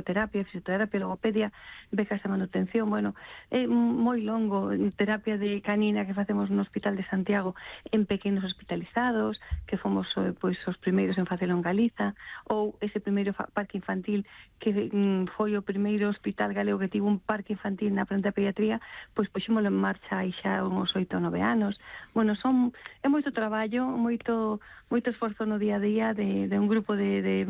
musicoterapia, fisioterapia, logopedia, becas de manutención, bueno, é moi longo, terapia de canina que facemos no Hospital de Santiago en pequenos hospitalizados, que fomos pois os primeiros en facelo en Galiza, ou ese primeiro parque infantil que foi o primeiro hospital galego que tivo un parque infantil na frente da pediatría, pois puxémolo en marcha aí xa uns 8 ou 9 anos. Bueno, é moito traballo, moito esforzo no día a día de un grupo de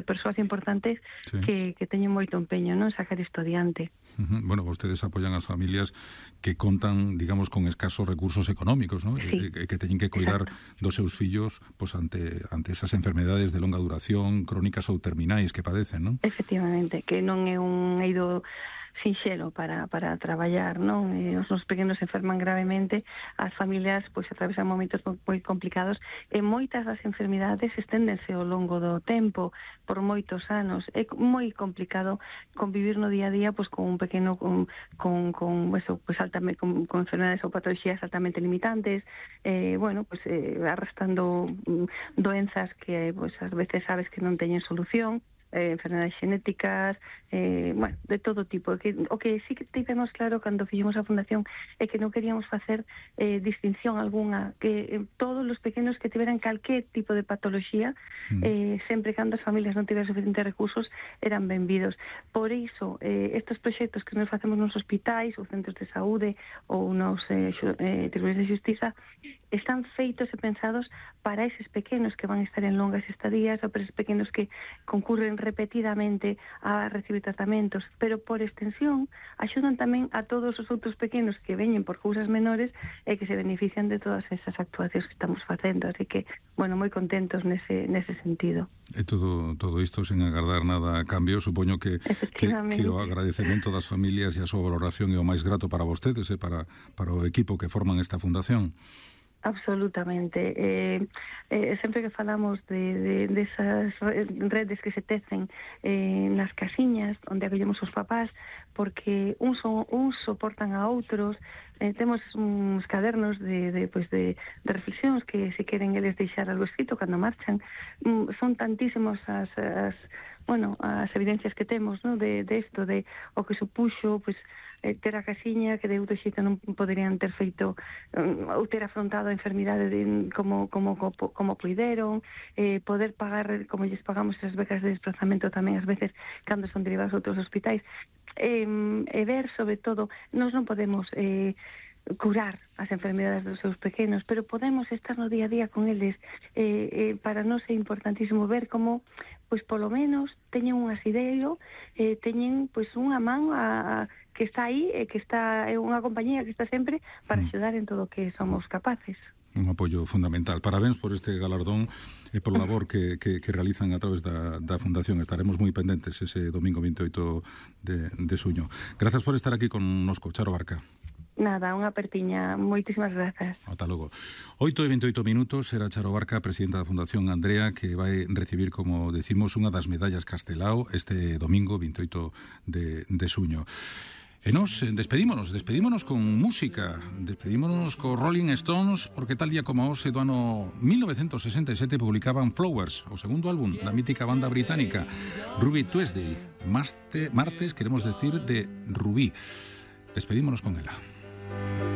persoas importantes que teñen moito empeño, non, sacar isto adiante. Bueno, vostedes apoian as familias que contan, digamos, con escasos recursos económicos, non? Sí. Que teñen que cuidar dos seus fillos pois ante esas enfermedades de longa duración, crónicas ou terminais que padecen, non? Efectivamente, que non é un eido sinxelo para traballar, non? Os nosos pequenos enferman gravemente, as familias pois atravesan momentos moi complicados e moitas das enfermidades esténdense ao longo do tempo, por moitos anos. É moi complicado convivir no día a día pois con un pequeno con enfermedades ou patologías altamente limitantes, arrastrando doenzas que pois ás veces sabes que non teñen solución, enfermedades xenéticas, de todo tipo. O que sí que tivemos claro cando fixemos a fundación é que non queríamos facer distinción algunha, que todos os pequenos que tiveran calquer tipo de patoloxía, sempre cando as familias non tiveran suficientes recursos, eran benvidos. Por iso, estes proxectos que nos facemos nos hospitais ou centros de saúde ou nos tribunais de xustiza están feitos e pensados para eses pequenos que van a estar en longas estadías ou para eses pequenos que concurren repetidamente a recibir tratamentos, pero por extensión axudan tamén a todos os outros pequenos que veñen por cousas menores e que se benefician de todas esas actuacións que estamos facendo, así que, moi contentos nese sentido. E todo isto sen agardar nada a cambio, supoño que o agradecemento das familias e a súa valoración é o máis grato para vostedes e para o equipo que forman esta fundación. Absolutamente. Sempre que falamos de esas redes que se tecen nas casiñas onde acollemos os papás, porque uns soportan a outros, temos uns cadernos de reflexións que se queren eles deixar algo escrito cando marchan. Son tantísimos as evidencias que temos, ¿no? de isto, de o que supuxo ter a casiña, que de outro xeito non poderían ter feito ou ter afrontado a enfermidade como puideron, poder pagar como lles pagamos as becas de desplazamento tamén ás veces cando son derivados a outros hospitais, e ver sobre todo, nós non podemos curar as enfermedades dos seus pequenos, pero podemos estar no día a día con eles. Para nós é importantísimo ver como polo menos teñen un asideiro, teñen unha man que está aí, que está unha compañía que está sempre para axudar en todo o que somos capaces. Un apoio fundamental. Parabéns por este galardón e por labor que realizan a través da Fundación. Estaremos moi pendentes ese domingo 28 de xuño. Grazas por estar aquí connosco, Charo Barca. Nada, unha apertiña. Moitísimas grazas. Ata logo. 8:28 era Charo Barca, presidenta da Fundación Andrea, que vai recibir, como decimos, unha das medallas Castelao este domingo 28 de xuño. E nos despedímonos con música, despedímonos co Rolling Stones, porque tal día como hoxe do ano 1967 publicaban Flowers, o segundo álbum da mítica banda británica Ruby Tuesday, martes, queremos decir, de Rubí. Despedímonos con ela.